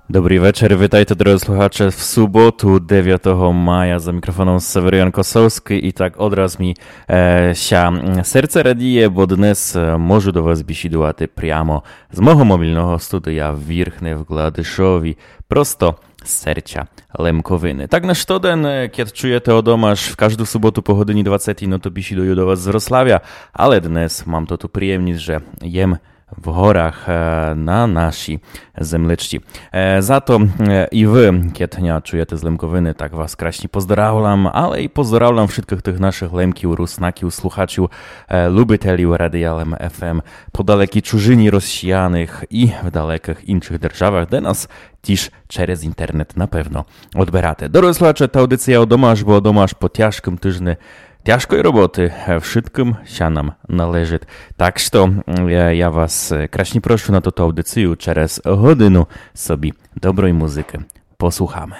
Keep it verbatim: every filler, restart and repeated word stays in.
Добрый вечер, вітайте, дорогы слухаче, в суботу, девятого мая. За мікрофоном Северян Косовскый. І так одраз мі е, ся м, серце радіє, бо днес е, можу до вас бесідувати прямо з мого мобільного студія в Вірхне в Гладышові. Просто з серця Лемковины. Так на штоден, е, кед чуєте о дома, аж в кажду суботу по годині двадцятій, но то бесідую до вас з Врославя, але днес мам тоту приємніст, же єм в горах е, на нашій земличці. Е, за то е, і вы, кед ня чуєте з Лемковины, так вас красні поздоравлам, але і поздоравлам вшыткых тых нашых Лемків, Руснаків, слухачів, е, любителів Радія Лем Ф М по далекій чужині розсіяных і в далекых іншых державах, де нас тіж через інтернет, напевно, одберате. Дорогы слухаче, та аудиція о дома аж, бо о дома аж по тяжкым тыжне тяжкой роботы, е, вшыткым ся нам належыт. Так што м, я, я вас е, красні прошу на тоту аудицію, через годину собі доброй музыкы послухаме.